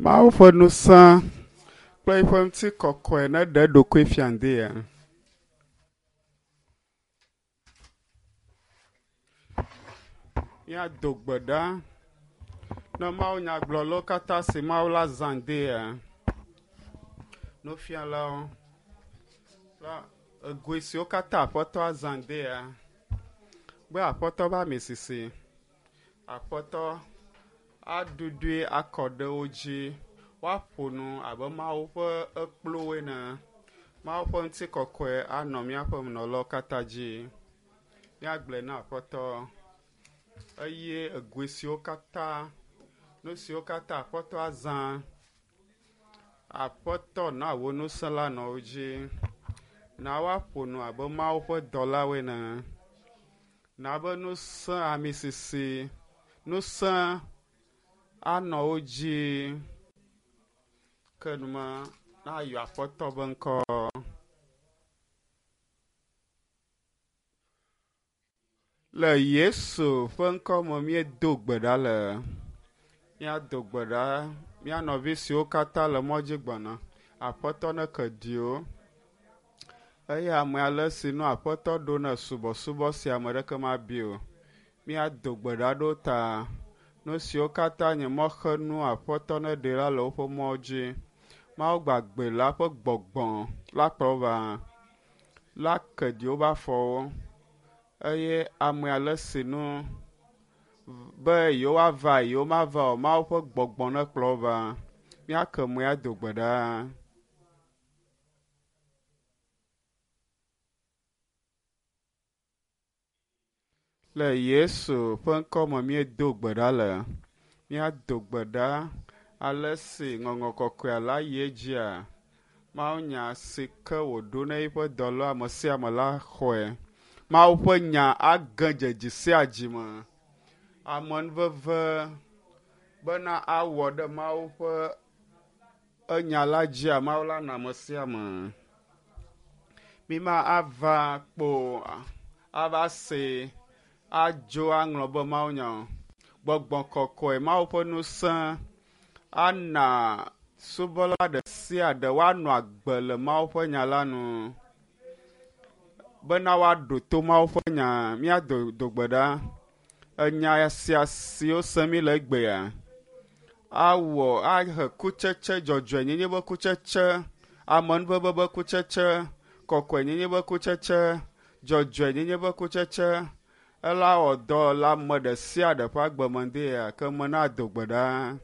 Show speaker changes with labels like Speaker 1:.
Speaker 1: Mawu ƒe ŋusẽ kple eƒe ŋutikɔkɔe neɖe eɖokui fia ŋdea. Míado gbe ɖa ne Mawu nyagblɔlawo katã si Mawu la zã ŋdea. Nufialawo kple egoe siwo katã Aƒetɔ azã ŋdea. Be Aƒetɔ be ami sisi, Aƒetɔ aɖuɖui akɔ ɖe wo dzi. Woaƒo nu abe Mawu ƒe ekpluwo ene. Mawu ƒe ŋutikɔkɔe anɔ míaƒe menɔlawo katã dzi. Míagblɔe na Aƒetɔ eye egoe siwo katã, nu siwo katã Aƒetɔ azã, Aƒetɔ na wò ŋusẽ la nɔ wo dzi. Na woaƒo nu abe Mawu ƒe dɔlawo ene. Na be ŋusẽ ami sisi, ŋusẽ anɔ wo dzi. Ke numa nayɔ Aƒetɔ be ŋkɔ. Le Yesu ƒe ŋkɔ me míedo gbe ɖa le. Míado gbe ɖa mía nɔvi siwo katã le mɔ dzi gbɔna. Aƒetɔ neke ɖi wo. Eye ame ale si nu Aƒetɔ ɖo ne subɔsubɔ sia ame ɖeke mabi o. Míado gbe ɖa ɖo ta. Nu siwo katã nye mɔxenu Aƒetɔ neɖe la le woƒe mɔ dzi. Mawu gbagbe la ƒe gbɔgbɔ la kplɔ wo va. La ke ɖi woƒe afɔwo eye ame ale si nu be yewoava yewomava o, Mawu ƒe gbɔgbɔ nekplɔ wo va. Míake moe ado gbe ɖa. Le Yesu ƒe ŋkɔ me míedo gbe ɖa le. Míado gbe ɖa ale si ŋɔŋlɔ kɔkɔea la yi edzia. Mawu nya si ke wòɖo na eƒe dɔla ame sia ame la xɔe. Mawu ƒe nya age dze dzi sia dzi me. Amenuveve bena awɔ ɖe Mawu ƒe enya la dzia, Mawu la na ame sia ame. Míma ava kpo ava se adzo aŋlɔ be Mawu nya o. Gbɔgbɔ kɔkɔe, Mawu ƒe ŋusẽ ana subɔla ɖe sia ɖe woanɔ agbe le Mawu ƒe nya la nu bena woaɖo to Mawu ƒe nya. Míado do gbe ɖa. Enya sia siwo sem mi le egbea awɔ ahe kutsetse dzɔdzɔenyenye be kutsetse, amenuveve be kutsetse, kɔkɔenyenye be kutsetse, dzɔdzɔenyenye be kutsetse. Ela wɔ dɔ le ame ɖe sia ɖe ƒe agbe me ŋdea ke me na do gbe ɖa.